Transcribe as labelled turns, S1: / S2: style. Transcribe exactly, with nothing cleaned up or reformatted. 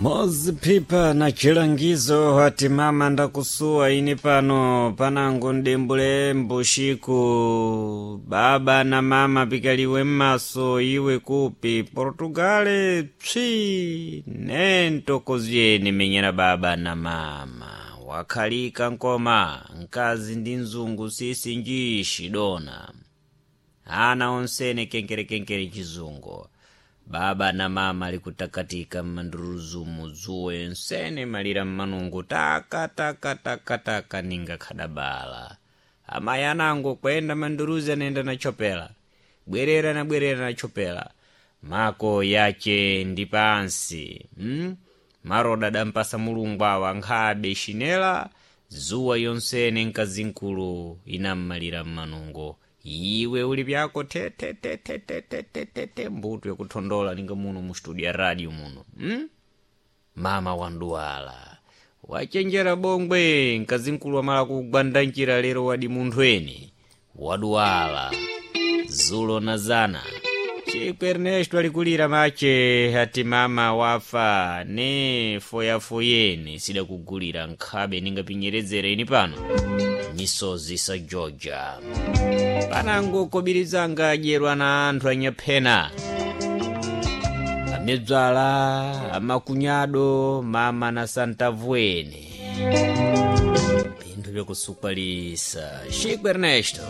S1: Mozi Pipa na chilangizo hati mama ndakusuwa ini pano panango ndembule mbushiku baba na mama pikaliwe mmaso iwe kupi Portugale psi nentokozyeni menyera baba na mama wakhalika nkoma nkazi ndi mzungu sisi njishi dona ana onsene kenkerekenkere chizungu baba na mama likutakatika mmanduruzumu zuwe nsene malira mmanungu taka taka taka taka ninga khadabala amayi anango kwenda manduruzi anenda na chopela bwerera na bwerera na chopela mako yache ndi pansi hmm? maroda adampasa mulungu awa nkhabe xinela zuwa yonsene nkazinkulu inammalira mmanungo iwe uli pyako te te te te te te te te te mbuto yakuthondola ninga muno mu studio ya radio muno hmm? mama wanduwala wachenjera bongwe mkazinkulu wamala kugwanda njira lero wadi munthu eni waduwala zulo na zana Chico Ernesto alikulira mache ati mama wafa ne foyafoyeni sidakugulira nkhabe ningapinyerezere ini pano misozi sa Georgia panango kobirizanga adyerwa na anthu anyaphena amedzwala amakunyado mama na santavuene pinthu byakusukwalisa Chico Ernesto.